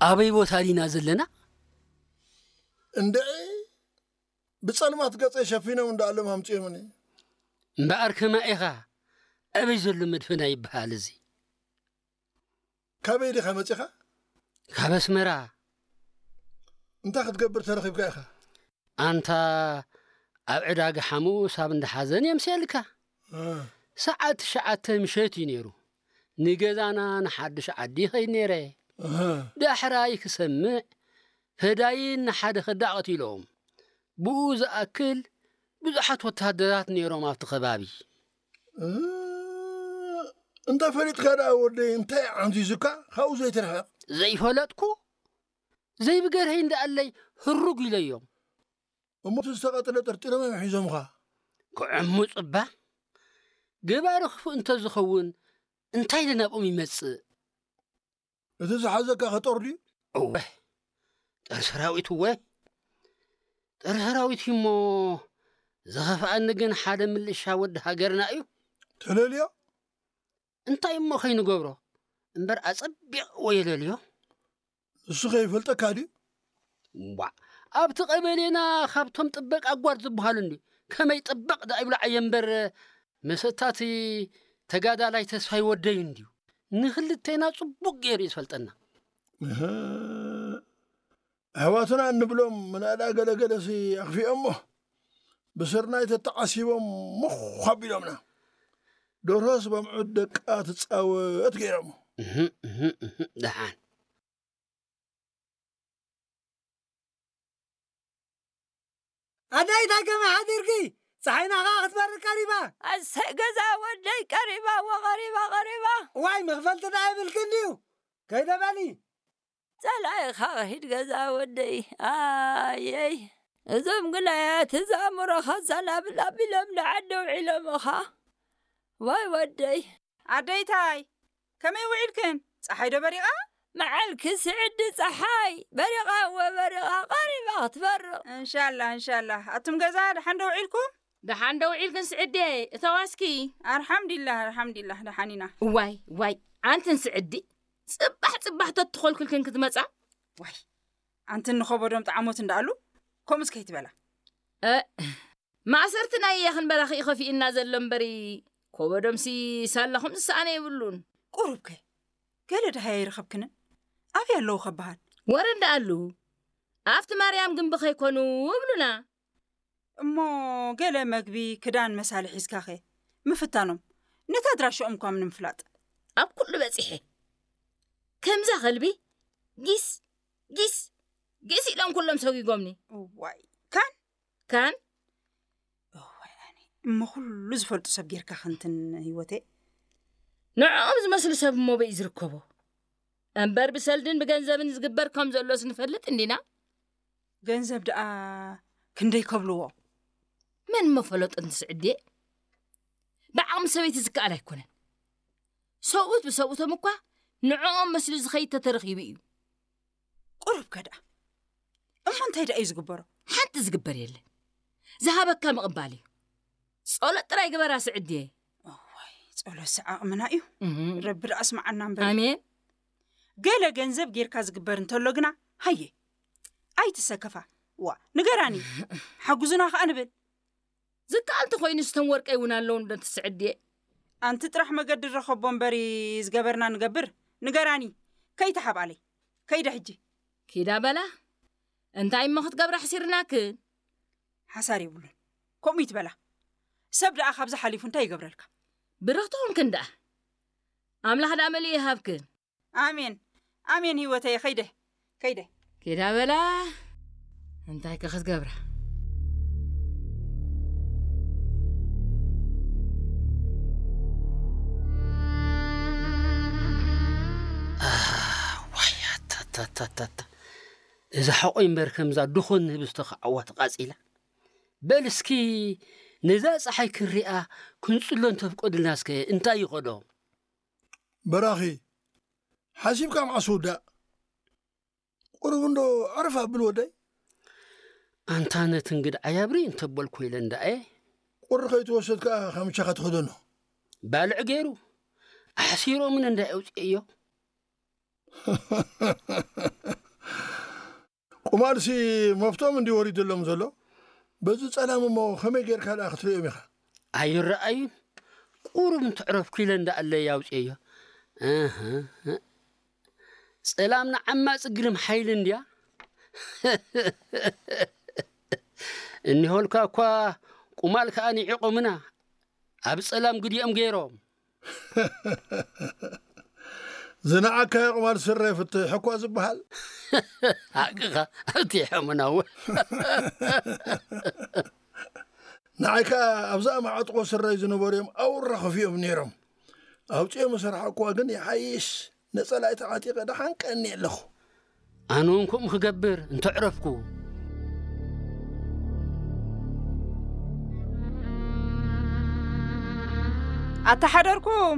ኣበይ ቦታ ዲና ዘለና? እንድዒ፣ ብጸልማት ገጸይ ሸፊኖም እንዳኣሎም ኣምጺኦምኒ። እምበኣር ከማ ኢኻ፣ ኣበይ ዘሎ መድፈና ይበሃል እዚ? ካበይ ዲኻ መጺኻ? ካብ ኣስመራ። እንታይ ክትገብር ተረኺብካ ኢኻ? ኣንታ፣ ኣብ ዕዳጋ ሓሙስ ኣብ እንዳ ሓዘን የምስየልካ። እ፣ ሰዓት ትሽዓተ ምሸት እዩ ነይሩ። ንገዛና ንሓድሽ ዓዲ ይኸይድ ነይረ። እህ፣ ዳሕራይ ክሰምዕ፣ ፈዳይን ንሓደ ከዳዕ ቀቲሎም። ብኡ ዝኣክል ብዙሓት ወታደራት ነይሮም ኣብቲ ከባቢ። እ፣ እንታይ ፈሊጥካ ደኣ ወደይ፣ እንታይ ዓንዚዙካ ካብኡ ዘይትርሕቕ? ዘይፈለጥኩ ዘይብገርሀይ እንዳኣለይ ህሩግ ኢለዮም። እሞ እቲ ዝተቐጥለ ጠርጢሮም እዮም ሒዞምኻ? ክዕምፁ እባ፣ ገባሪ ክፉእ እንተዝኸውን እንታይ ኢለ ናብኦም ይመፅእ? እቲ ዝሓዘካ ከጦር ድዩ? እወ፣ ጠር ሰራዊት እወ፣ ጠር ሰራዊት እዩ እሞ፣ ዝኸፍኣኒ ግን ሓደ ምልሻ ወዲ ሃገርና እዩ። ተለልዮ? እንታይ እሞ ከይንገብሮ እምበር፣ ኣጸቢቕዎ የለልዮ። ንሱ ከይፈልጠካ ድዩ? ዋዕ፣ ኣብቲ ቀበሌና ካብቶም ጥበቅ ኣጓር ዝበሃሉ እንድዩ። ከመይ ጥበቅ ደኣ ይብሎ ዓየ እምበር፣ መሰታቲ ተጋዳላይ ተስፋይ ወደይ እንድዩ። ንክልቴና ጽቡቅ ገይሩ እዩ ዝፈልጠና። እህ፣ ኣሕዋትና እንብሎም ምናዳ ገለገለሲ ኣኽፊኦሞ ብስርናይ ተተዓሲቦም ምዃ ኣቢሎምና። ደርሆስ በምዑት ደቃ ትጻወት ገይሮሞ። እህም፣ እህም፣ እህም፣ ደሓን። ኣደይ እንታይ ከመይ ሓዲርኪ? ፀሓይና ኸዓ ክትበርድ ቀሪባ። ኣሰይ ገዛ ወደይ ቀሪባ፣ ወ ቀሪባ፣ ቀሪባ። ዋይ መኽፈልቲ ደኣ የብልክን ድዩ? ከይደ በሊ። ጸላኢኻ ኺድ ገዛ ወደይ። ኣየይ እዞም ግናያት እዛ ኣእምሮኻ ዘናብል ኣቢሎም ንዓዲ ውዒሎምኻ። ዋይ ወደይ። ኣደይታይ ከመይ ውዒልክን? ጸሓይ ዶ በሪቓ? መዓልኪ ስዕዲ ጸሓይ በሪቓ እወ በሪቓ ቀሪባ ክትበርቕ። እንሻላ እንሻላ። ኣቱም ገዛ ደሓን ዶ ውዒልኩም? ደሓን ዶ ውዒልክን ስዕዴ? እተዋስኪ። ኣርሓምዲላህ ኣርሓምዲላህ ደሓን ኢና። እዋይ እዋይ ኣንትን ስዕዲ ጽባሕ ጽባሕ ተትኾልክልክን ክትመጻ። ዋይ ኣንትን ንኸበዶም ጠዓሞት እንዳኣሉ ከምኡስ ከይትበላ። እ ማእሰርቲ ናይ የኽን በራኺ እዩ ከፊእና ዘሎ እምበሪ ኮበዶምሲ ሳላኹም ዝሰኣነ የብሉን። ቁሩብከ ገለ ደሃይ ኣይረኸብክንን? ኣበይ ኣለዉ ከበሃል? ወረ እንዳኣሉ ኣብቲ ማርያም ግንቢ ከይኮኑ እብሉና። እሞ ገለ መግቢ ክዳን መሳሊ ሒዝካኸ ምፍታኖም ነቲ ኣድራሽኦም እኳ ንምፍላጥ። ኣብ ኩሉ በጺሐ ከምዛ ከልቢ ጊስ ጊስ ጊስ ኢሎም ኩሎም ሰጒጎምኒ። እዋይ ካን ካን እዋይ ኣነ እሞ ኩሉ ዝፈልጡ ሰብ ጌርካ ክንትን ህይወተይ። ንዕኦም ዝመስሉ ሰብ እሞ በይ ዝርከቦ እምበር ብሰልድን ብገንዘብን ዝግበር ከም ዘሎስ ንፈልጥ እንዲና። ገንዘብ ደኣ ክንደይ ከብልዎ? መን እሞ ፈለጦ እንትስዕድየ ብዓቕሚ ሰበይቲ ዝከኣል ኣይኮነን። ሰብኡት ብሰብኡቶም እኳ ንዕኦም መስሉ ዝኸይድ ተተረኺቡ እዩ። ቁሩብ ከ ደኣ እሞ እንታይ ደኣ እዩ ዝግበሮ? ሓንቲ ዝግበር የለን። ዝሃበካ ምቕባል እዩ። ጸሎት ጥራይ ግበራ ስዕድየ። እዋይ ጸሎትሲ ዓቕምና እዩ። እህ። ረቢ ደኣ ስምዓና እምበር። ኣሜን። ገለ ገንዘብ ጌርካ ዝግበር እንተሎ ግና ሃየ ኣይትሰከፋ። ዋ ንገራኒ ሓጉዙና ከኣ ንብል። ዝከኣል እንተኾይኑ ስተን ወርቀይ እውን ኣለውን ዶ ትስዕድየ። ኣንቲ ጥራሕ መገዲ ንረኸቦ እምበሪ ዝገበርና ንገብር። ንገራኒ ከይተሓብኣለይ። ከይደ ሕጂ። ኪዳ በላ እንታይ እሞ ክትገብራ ኣሕሲርናክን። ሓሳር የብሉን ከምኡ ይትበላ። ሰብ ደኣ ካብዚ ሓሊፉ እንታይ ይገብረልካ። ብርኽቲ ኹንክን ደኣ ኣምላኽ ደኣ መሊኡ ይሃብክን። ኣሜን ኣሜን ህይወተየ ከይደ ከይደ። ኪዳ በላ እንታይ ከ ክትገብራ። ዋይ ኣታታታታታ፣ እዛ ሓቆይ እምበር ከምዛ ድኾን ንህብስቶ ክዓዋ ተቓጺላ። በል እስኪ ነዛ ጸሓይ ክንሪኣ ክንጽሎ እንተፍቀዱልና እስከ እንታይ ይኸዶ? በራኺ ሓሲብካ መዓስ ውዳእ? ቁሩብ እንዶ ዕርፍ ኣብል ወደይ። ኣንታ ነቲ እንግድዓይ ኣብሪ እንተበልኮ ኢለ እንዳየ። ቁሪ ከይትወስድ ከኣ ካምቻኻ ትኸደኖ። ባልዕ ገይሩ ኣሕሲሮምን እንዳ የውፅእዮ። ቁማልሲ መፍቶም እንዲ ወሪድሎም ዘሎ። በዚ ጸላም እሞ ከመይ ጌርካ ደኣ ክትርእዮም ኢኻ? ኣይረኣዩን። ቁሩብ እንትዕረፍኩ ኢለ እንዳኣለይ ኣውፅየዮ። እህ፣ ጸላም ንዓማፅ ግርም ሓይሊ እንድያ። እኒሆልካ እኳ ቁማል ከኣ ንዒቖምና ኣብ ጸላም ግዲኦም ገይሮም። ዝነዓካዮ ቁማል ስረ ፍትሕ እኳ ዝበሃል። ሓቅኻ ኣብቲ ሕሙናው። ንዓይ ከኣ ኣብዛ ማዕጥቆ ስረይ ዝነበሩ እዮም ኣውራ ከፊኦም ነይሮም። ኣውፅኦም ዝሰርሓ እኳ ግን ይሓይሽ። ነጸላይ ተዓጢቐ ደሓን ቀኒ ኣለኹ። ኣነ እውን ከምኡ ክገብር እንተዕረፍኩ። ኣተሓደርኩም።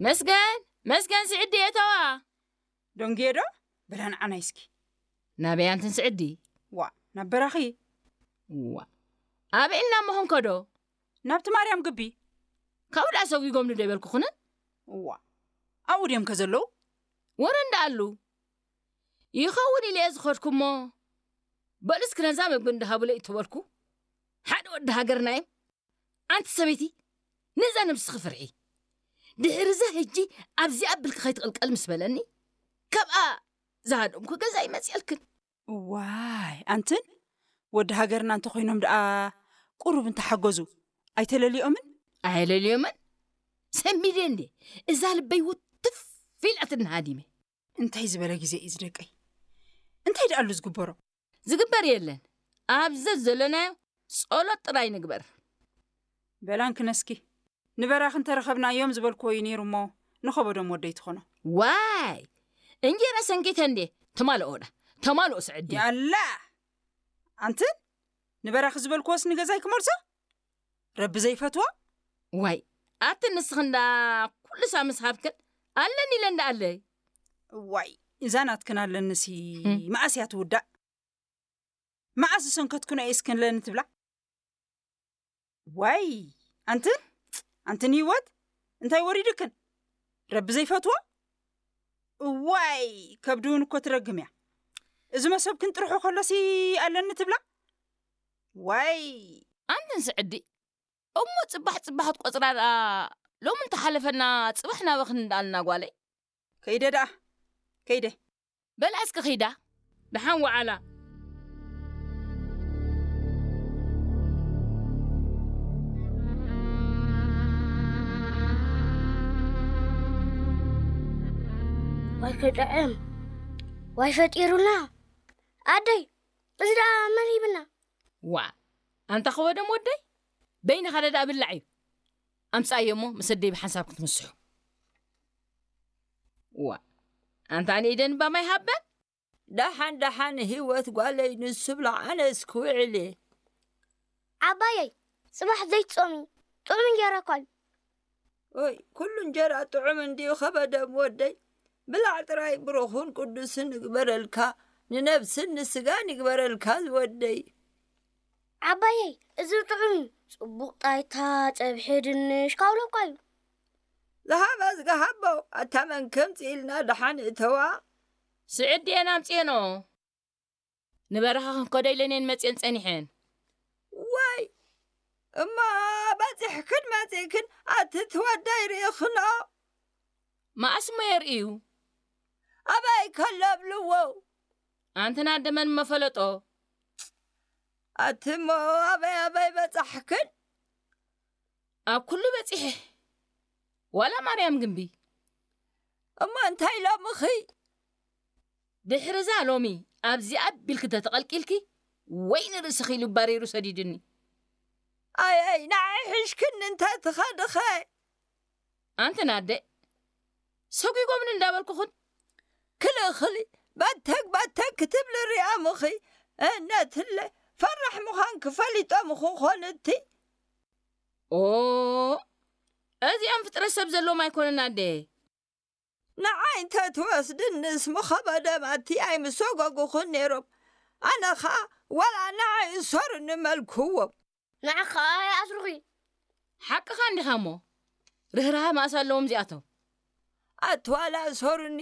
መስገን፣ መስገን ስዕዲ እተዋ። ደንግየ ዶ? በላ ንዓናይ እስኪ። ናበይ ኣንትን ስዕዲ? ዋ፣ ናብ በራኺ። ዋ፣ ኣበይ ኢልና መኾንከ ዶ? ናብቲ ማርያም ግቢ። ካብኡ ደኣ ሰጒጎምኒ ዶ ይበልኩኹንን? ዋ፣ ኣብኡ ድዮም ከ ዘለዉ? ወረ እንዳኣሉ። ይኸውን ኢለ እየ ዝኸድኩ እሞ፣ በሉ እስኪ ነዛ መግቢ እንዳሃቡለይ እተበልኩ፣ ሓደ ወዲ ሃገርና እዮም። ኣንቲ ሰበይቲ፣ ነዛ ነብስኺ ፍርሒ። ድሕሪ እዛ ሕጂ ኣብዚኣ ኣቢልኪ ከይትቕልቀል ምስ በለኒ፣ ካብኣ ዝሃደምኩ ገዛ ይመጽኣልክን። ዋይ፣ ኣንትን ወዲ ሃገርና እንተኾይኖም ደኣ ቁሩብ እንተሓገዙ ኣይተለልዮምን? ኣየለልዮምን? ሰንቢደ እንዴ? እዛ ልበይ ውትፍ ኢላትኒ ሃዲመ። እንታይ ዝበለ ግዜ እዩ ዝደቀይ? እንታይ ደኣሉ ዝግበሮ? ዝግበር የለን። ኣብ ዘዘለናዮ ጸሎት ጥራይ ንግበር። በላን ክነስኪ ንበራኽ እንተረኸብናዮም ዝበልክዎ እዩ ነይሩ እሞ ንኸበዶም ወደይ ትኾኖ። ዋይ! እንጀራ ሰንኪተ እንዴ? ተማልኦ ዳ? ተማልኦ ስዕዲ። ያላ! ኣንትን ንበራኺ ዝበልክዎስ ንገዛይ ክመልሶ? ረቢ ዘይፈትዎ? ዋይ! ኣቲ ንስኽን ዳ ኩሉ ሳምስ ሃብክን ኣለኒ ኢለ እንዳ ኣለይ። ዋይ! እዛ ናትክን ኣለንሲ ህም። መኣስ እያ ትውዳእ? መዓስ ዝሰንከትክን እየ እስክን ለኒ ትብላ? ዋይ! ኣንትን፣ ኣንትን ህይወት፣ እንታይ ወሪድክን? ረቢ ዘይፈትዎ? ዋይ! ከብዲ እውን እኮ ትረግም እያ። እዚ መሰብክን ጥርሑ ከሎሲ ኣለኒ ትብላ? ዋይ! ኣንትን ስዕዲ፣ እሞ ጽባሕ ጽባሕ ትቆጽራ ደኣ፣ ሎሚ እንተሓለፈና ጽባሕ ናበኽን እንዳኣልና ጓለይ። ከይደ ደኣ፣ ከይደ። በላ እስኪ ኺዳ፣ ደሓን ወዓላ። ዋይ ክጥዕም፣ ዋይ ፈጢሩና። ኣደይ፣ እዚ ደኣ መን ሂብና? ዋ፣ ኣንታ ኸወደም ወደይ፣ በይንኻ ደኣ ብላዕ እዩ። ኣምጻእዮ እሞ ምስ ኣደይ ብሓንሳብ ክትምስሑ። ዋ፣ ኣንታ ንኢደን እባ ማይ ሃበን። ደሓን ደሓን ህይወት ጓለይ ንሱ ብላዕ ኣነስ ክውዕል እየ። ዓባየይ፣ ጽባሕ ዘይትጾሚ፣ ጥዑም እንጀራ እኳ እዩ። ኦይ፣ ኩሉ እንጀራ ጥዑም እንድዩ ኸበደም ወደይ። ብላዕ ጥራይ ብሩኹን ቅዱስን ይግበረልካ፣ ንነብስን ንስጋን ይግበረልካ ዝወደይ። ዓባየይ፣ እዚ ጥዑም እዩ። ጽቡቕ ጣይታ፣ ጸብሒ ድንሽ፣ ካውሎ እኳ እዩ። ዝሃበ ዝገሃቦ፣ ኣታ መን ከምጽእ ኢልና ደሓን እተዋ። ስዕድ እየን ኣምጽኤንኦ። ንበረኻ ክንከዶ ኢለን እየን መጽኤን ጸኒሐን። ዋይ፣ እሞ በጺሕክን መጺእክን ኣቲ ትወደይ ርኢኽንኦ? መኣስ እሞ የርእዩ? ኣበይ ከሎ ኣብልዎ? ኣንትና ደመን መፈለጦ። ኣቲ እሞ ኣበይ ኣበይ በጻሕክን? ኣብ ኩሉ በጺሐ። ዋላ ማርያም ግምቢ። እሞ እንታይ ኢሎምኺ? ድሕሪ እዛ ሎሚ ኣብዚኣ ቢልኪ ተተቐልቂልኪ፣ ወይ ንርእስኺ ኢሉ ባሪሩ ሰዲድኒ። ኣይ፣ ኣይ፣ ንዓይ ሒሽክኒ እንተ ትኸድኸ? ኣንተን ኣደ፣ ሰጒጎምኒ እንዳበልኩኽን፣ ክልእኽሊ፣ በተግ በተግ ክትብሊ ሪኣምኺ፣ እነትለ፣ ፈራሕ ምዃንኪ ፈሊጦምኺ ኾን እቲ። ኦ፣ እዚኦም ፍጥረት ሰብ ዘለዎም ኣይኮኑን ኣደ። ንዓይ እንተ ትወስድንስ ምኸበደም ኣቲ ኣይምሰጎጉኽን ነይሮም። ኣነ ኸኣ ዋላ ንዓይ እሰሩኒ መልክዎም። ንዓኻ ኣይኣስሩኺ። ሓቅኻ እንዲኻ እሞ፣ ርህራሀ መኣስ ኣለዎም እዚኣቶም። ኣቲ ዋላ እሰሩኒ፣